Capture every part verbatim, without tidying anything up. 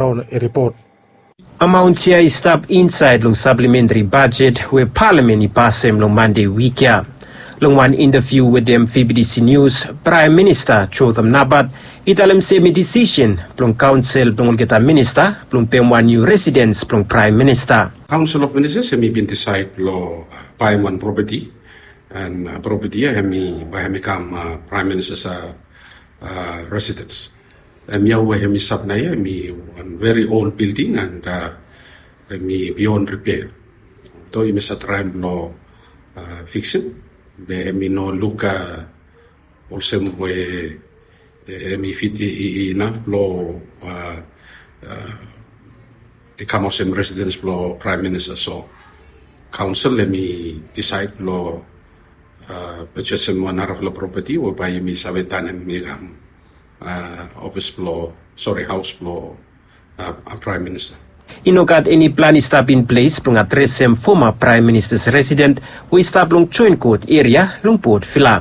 Raun i ripot. Amaon ya i stap insaed long saplementri bajet we palamen i pasem long Mande wik ya. Long wan intaviu wetem V B T C News, Praem Minista Jotham Napat i talem se hem i disisen blong kaonsel blong olgeta minista blong pem wan niu residens blong Praem Minista. Council of Ministers hem i bin disaed blong baem wan propeti, and propeti ya hem i bae hem i kam Praem Minista residens. Hemia we hemi stap naoia hemi wan very old building and hemi beyond repair. Although yumi save traem blong fiksim, be hemi no luk olsem we hemi fit inaf blong i kam olsem residens blong Praem Minista. So kaonsel hemi disaed blong purchasem wan narafala propeti we bae yumi save tanem i kam ofis blong, sori, haos blong Praem Minista. I no gat eni plan i stap in ples blong adresem foma Praem Minista residen we i stap long Joen Kot eria long Port Vila.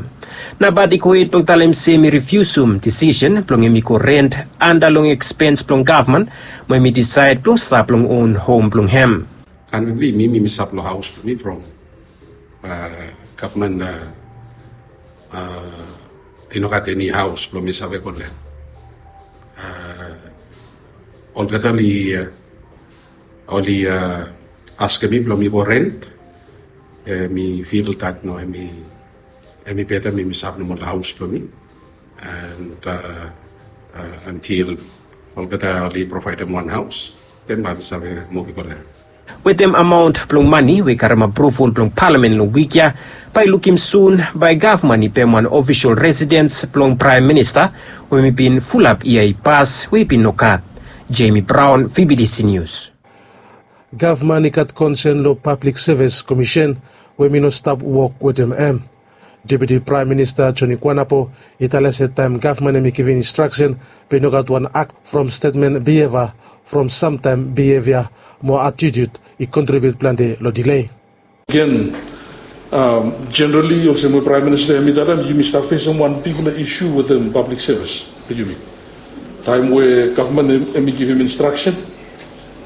Napat i gohed blong talem se hemi rifiusum disisen blong hemi go rent anda long ekspens blong gavman, mo hemi disaed blong stap long on hom blong hem. Currently mi mi mi stap long haos blong mi from gavman i no gat eni haos blong mi save go long hem. Olgeta oli askem mi blong mi go rent. Mi fil dat no, hemi beta mi mi stap nomo long haos blong mi. And antil olgeta oli provaedem wan haos, den bae mi save muv i go long hem. Wetem amaon blong mane we i karem apruval blong palamen long wik ya, bae i lukim sun bae gavman i pem wan ofisol residens blong Praem Minista we hemi bin fulap yia i pas we i bin nogat. Jamie Brown, V B T C News. Gavman i gat konsen long Pablik Sevis Komisen we hemi no stap wok wetem hem. Deputi Praem Minista Joni Kuanapo i talem se taem gavman hemi givim instraksen, be i no gat wan akt from stetmen, bieva from samtaem, bievia mo atitud i kontribiut plante long dile. Agen, jenerali olsem we Praem Minista hemi talem, yumi stap fesem wan bigfala isu wetem pablik sevis blong yumi. Taem we gavman hemi givim instraksen,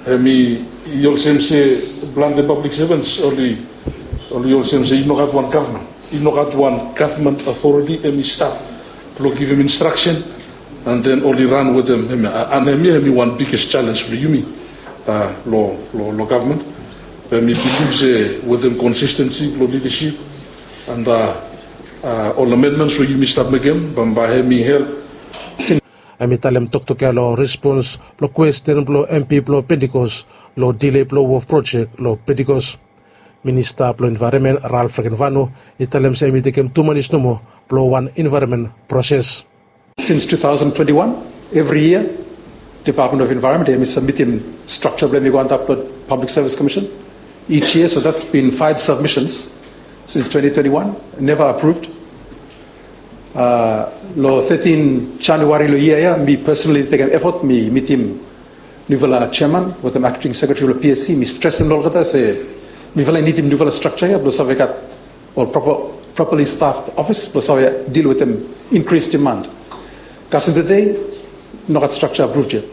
hemi olsem se plante pablik sevens oli olsem se i no gat wan gavman, i no gat wan gavman otoriti hemi stap blong givim instraksen, and then oli ran wetem hemia. And hemia hemi wan biges jalenj blong yumi long gavman. Be mi bilif se wetem konsistensi blong lidasip and ol amendments we yumi stap mekem, bambae hemi help. Hemi talem toktok ya long respons blong kwesten blong MP blong Pentecost long dile blong wharf projek long Pentecost. Minista blong Envaeronmen Ralph Rakenvanu i talem se hemi tekem tu manis nomo blong wan envaeronmen proses. Since two thousand twenty-one, evri yia Department of Environment hemi sabmitim strakja blong hemi go antap long Public Service Commission each year, so that's been five submissions since twenty twenty-one, never approved. Long thirteen January long yia ya, mi personally tekem efot mi mitim niufala chairman wetem acting secretary blong PSC, mi stresem long olgeta se mifala i nidim niufala strakja ya blong save gat ol properly staffed office blong save deal wetem increased demand. Kasem tede, nogat strakja approved yet.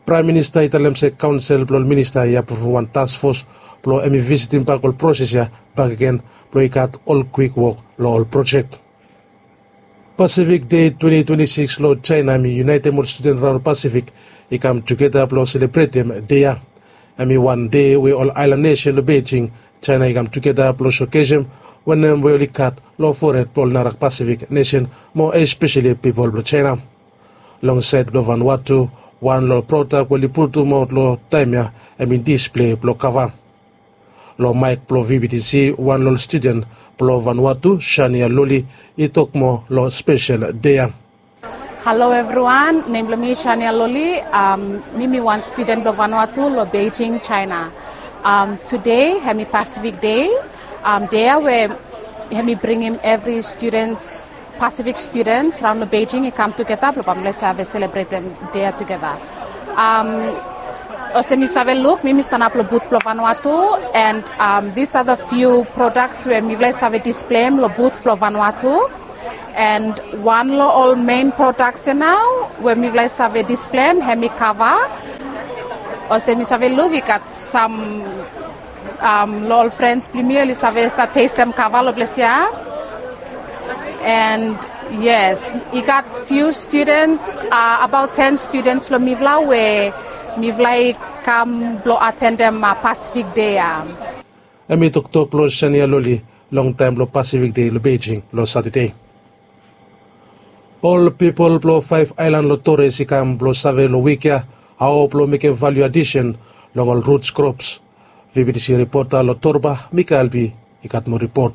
Praem Minista i talem se kaonsel blong ol minista i apruvum wan task fos blong hemi visitim bak ol proses ya bakegen blong i gat ol kwik wok long ol projek. Pasifik Dei twenti twenti sikis long Jaena hemi yunaetem ol studen raon Pasifik i kam tugeta blong selebretem dei ya. Hemi wan dei we ol aelan nesen long Beijing, Jaena i kam tugeta blong sokesem wanem we oli gat long fored blong ol nara Pasifik nesen, mo espeseli pipol blong Jaena. Long saed blong Vanuatu, wan long ol prodak we oli putumaot long taem ya hemi displei blong kava. Long maek blong VBTC, wan long ol studen blong Vanuatu, Shania Loli, i tok moa long spesel dei ya. Halo evriwan, nem blong mi Shania Loli. Mi mi wan studen blong Vanuatu long Beijing, Jaena. Tede hemi Pasifik Dei. Dei ya we hemi bringim evri studens, Pasifik studens raon long Beijing i kam tugeta blong bambae oli save selebretem dei ya tugeta. Olsem yu save luk, mi mi stanap long but blong Vanuatu, and these are the few products we mifala i save displeim long but blong Vanuatu. And wan long ol mein prodaks ya nao we mifala i save displeim hemi kava. Olsem mi save luk i gat sam, um, lo ol frens blong mi oli save stap testem kava lo ples ya. And yes, i gat few students, uh, about ten students lo mifala we mifala i kam blo atendem, uh, Pacific Day ya. Hemi toktok blo Shania Loli long taem blo Pacific Day lo Beijing lo Satade. Ol pipol blo faef aelan lo Torres i kam blo save lo wik ya hao blo mekem value addition long ol roots crops. VBTC ripota lo Torba, Mika Albi, i gat moa ripot.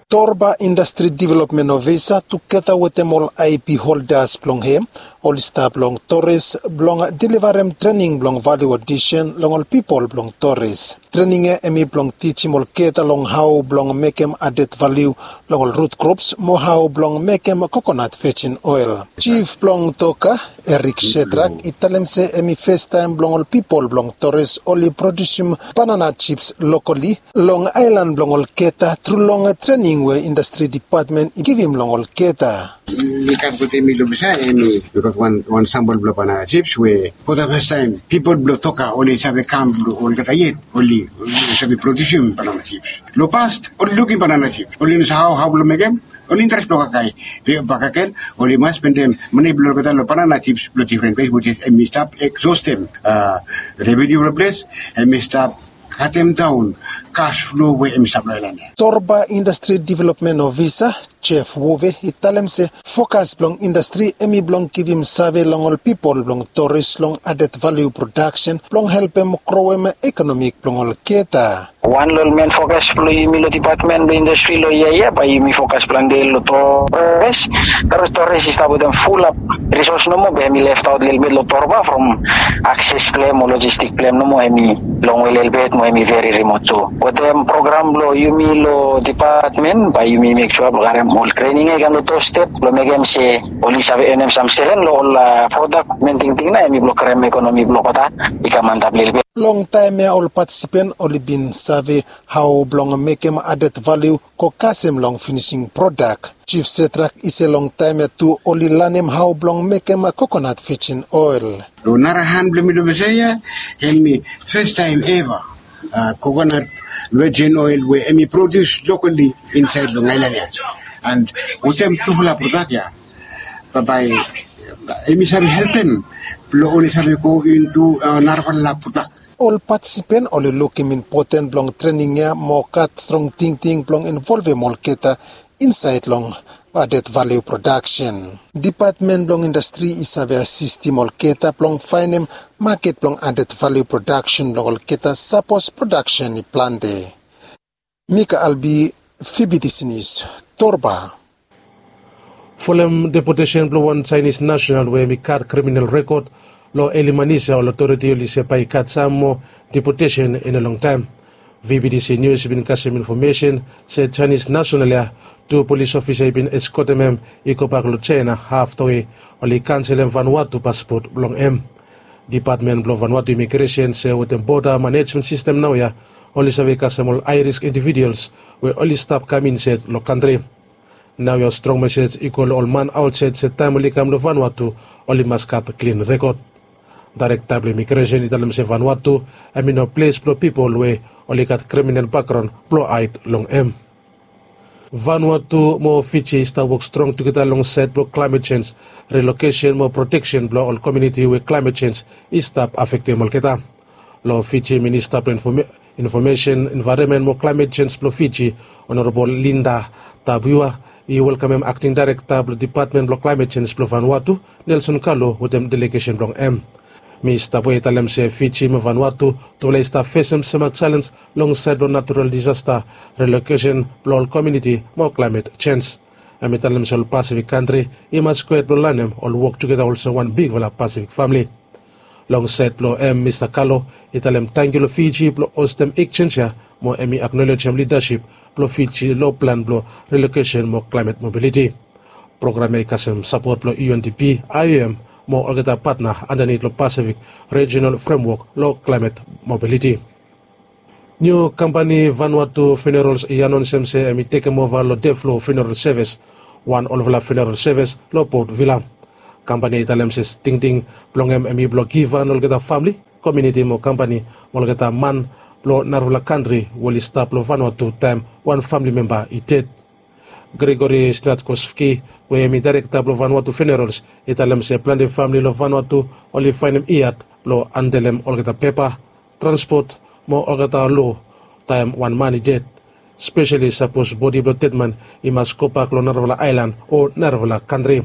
Torba Indastri Developmen Ofisa tugeta wetem ol IP holdas blong hem oli stap long Torres blong delivarem trening blong value addition long ol pipol blong Torres. Trening ya hemi blong tijim olgeta long hao blong mekem added value long ol root crops mo hao blong mekem kokonat vejin oel. Jif blong Toka, Eric Shedrak, i talem se hemi festaem blong ol pipol blong Torres oli produsim banana chips lokali long aelan blong olgeta tru long trening we Indastri Dipatmen i givim long olgeta. Mi kam wetem mi lo besa, hemi, mi gat wan, wan sambol blo banana chips we for the first time pipol blo Toka oli save kam blo olgeta yet oli, oli save produsim banana chips. Lo past oli lukim banana chips, oli no save hao, hao blo mekem, oli interes blo kakae. Be bakegen oli mas spendem mane blo olgeta lo banana chips lo difren ples, which is hemi stap egzostem, uh, revenue blo ples, hemi stap katem daon cash flow we hemi stap lo aelan ya. Torba Indastri Developmen Ofisa Jeff Wove i talem se fokas blong indastri hemi blong givim save long ol pipol blong Torres long added value production blong helpem groem ekonomi blong olgeta. Wan lo ol men fokas blo yumi lo dipatmen blo indastri lo yia ya bae yumi fokas plante lo Torres. Torres, Torres i stap wetem fulap risos nomo be hemi left out lelebet lo Torba from akses blong hem o lojistik blong hem nomo hemi longwe lelebet mo hemi veri rimot tu. Wetem program blo yumi lo dipatmen bae yumi mek sua blo karem ol trening ya i kam lo tu step blo mekem se oli save enem sam seren lo ol, uh, prodak. Men tingting nao hemi blo karem ekonomi blo olgeta i kam antap lelebet. Long taem ya ol patisipen oli bin save hao blong mekem added value go kasem long finising prodak. Jif Shedrak i se long taem ya tu oli lanem hao blong mekem kokonat vejin oel. Lo nara han blo mi lo besa ya, hemi festaem eva, uh, kokonat vejin oel we hemi produs lokali insaed long aelan ya. And wetem tufala prodak ya bae, bae hemi save helpem blo oli save go intu, uh, narafala prodak. Ol patisipen oli lukim impoten blong trening ya mo gat strong tingting blong involvem olgeta insaed long added value production. Dipatmen blong indastri i save asistim olgeta blong faenem maket blong added value production blong olgeta sapos production i plante. Mika Albi, VBTC News, Torba. Folem depotesen blong wan Jaenis nasenal we hemi gat kriminal rekod lo eli manis ya ol otoriti oli se bae i gat sam moa depotesen in a long taem. VBTC News i bin kasem infomesen se Jaenis nasenal ya, tu polis ofisa i bin eskotem hem i gobak lo Jaena afta we oli kanselem Vanuatu paspot blong hem. Dipatmen blong Vanuatu Imigresen se wetem boda manejmen sistem naoia oli save kasem ol hae risk individuals we oli stap kam insaed lo kantri. Naoia ol strong mesej i go lo ol man aotsaed se taem oli kam lo Vanuatu oli mas gat klin rekod. Daerekta blong Imigresen i talem se Vanuatu hemi no ples blo pipol we oli gat kriminal bakgraon blo haed long hem. Vanuatu mo Fiji i stap wok strong tugeta long saed blong klaemet jenj, rilokesen mo proteksen blong ol komuniti we klaemet jenj i stap afektem olgeta. Long Fiji, Minista blong Infome-, Infomesen, Envaeronmen mo Klaemet Jenj blong Fiji, Honorable Linda Tabuya, i welkamem Akting Daerekta blong Dipatmen blong Klaemet Jenj blong Vanuatu, Nelson Kalu, wetem delegesen blong hem. Minista Tabuya i talem se Fiji mo Vanuatu tufala i stap fesem semak jalenj long saed blong natural disasta, rilokesen blong ol komuniti mo klaemet jenj. Hem i talem se ol Pasifik kantri i mas gred blong lanem ol wok tugeta olsem wan bigfala Pasifik famle. Long saed blong hem, Minista Kalu i talem tangkiu long Fiji blong hostem ekjenj ya mo hem i aknolejem lidasip blong Fiji long plan blong rilokesen mo klaemet mobiliti. Program ya i kasem sapot blong UNDP, IOM mo olgeta patna andanit long Pasifik Rejinal Fremwok long klaemet mobiliti. Niu kampani Vanuatu Funerals i anonsem se hem i tekemova long Deflo Funeral Sevis, wan olfala funeral sevis long Port Vila. Kampani ya i talem se tingting blong hem hemi blong givhan olgeta famle komiuniti mo kampani mo olgeta man blong narafala kantri we oli stap long Vanuatu taem wan famili memba i ded. Gregory Snatkovski, we hem i daerekta blong Vanuatu Funerals, i talem se plante famili long Vanuatu oli faenem iad blong handelem olgeta pepa, transpot mo olgeta loa taem wan man i ded, speseli sapos bodi blong dedman i mas gobak long narafala aelan o narafala kantri.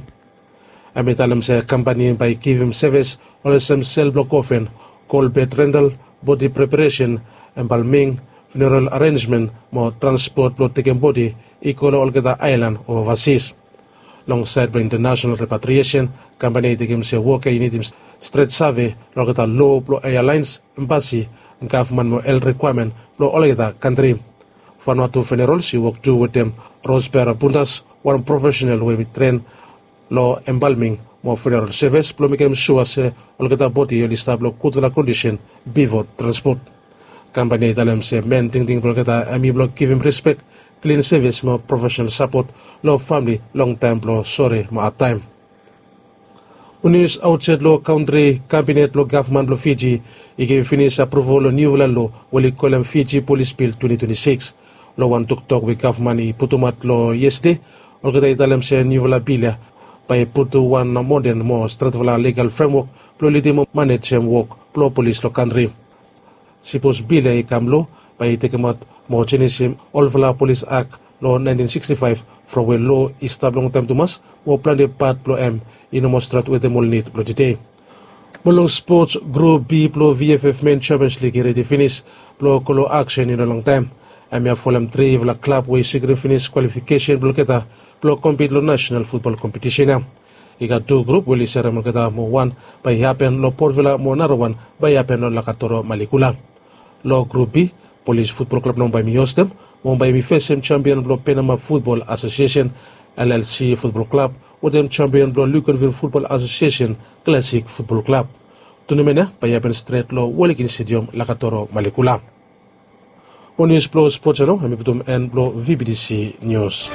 Hem i talem se kampani bae i givim sevis olsem sel blong kofen, kol bed rental, bodi preparesen, embalming, funeral arenjmen mo transpot blong tekem bodi i go long olgeta aelan o ovasis. Long saed blong intanasenal repatriesen, kampani i tekem se wok ya i nidim stret save long olgeta loa blong ealaens, embasi, gavman mo helt rikwaemen blong olgeta kantri. Vanuatu Funerals i wok tu wetem Rospera Bundas, wan profesenal we hem i tren long embalming mo funeral sevis blong mekem sua se olgeta bodi oli stap long gudfala kondisen bifo transpot. Kampani i talem se men tingting blong olgeta hem i blong givim rispek, klin sevis mo profesenal sapot long famili long taem blong sore mo adtaem. Nius aotsaed long kantri, kabinet blong gavman blong Fiji i givim finis aproval long niufala loa we oli kolem Fiji Polis Bil twenti twenti sikis. Long wan toktok we gavman i putumaot long yestade, olgeta i talem se niufala bil ya bae i putum wan moden mo stretfala ligal fremwok blong lidim mo manejem wok blong polis long kantri. Sipos bil ya i kam loa, bae i tekemaot mo jenisim olfala polis ak long naentin sikstifaef, from we loa i stap longtaem tumas mo plante pat blong hem i no moa stret wetem ol nid blong tede. Mo long spots, Grup B blong VFF Men Champions League i redi finis blong go long aksen i no longtaem. Hemia folem trifala klab we i sikrim finis kwalifikesen blong olgeta blong kompit long nasenal futbol kompetisen ya. I gat tu grup we oli serem olgeta mo wan bae i hapen long Port Vila mo narawan bae i hapen long Lakatoro Malikula. Long Grup B, Polis Futbol Klab nao bae hem i hostem mo bae hem i fesem jampion blong Penama Futbol Asosiesen, LLC Futbol Klab, wetem jampion blong Luganville Futbol Asosiesen, Klasik Futbol Klab. Tunamen ya bae i hapen stret long Wellington Stadium, Lakatoro Malikula. Mo nius blong spots ya nao hem i putum en blong VBTC Nius.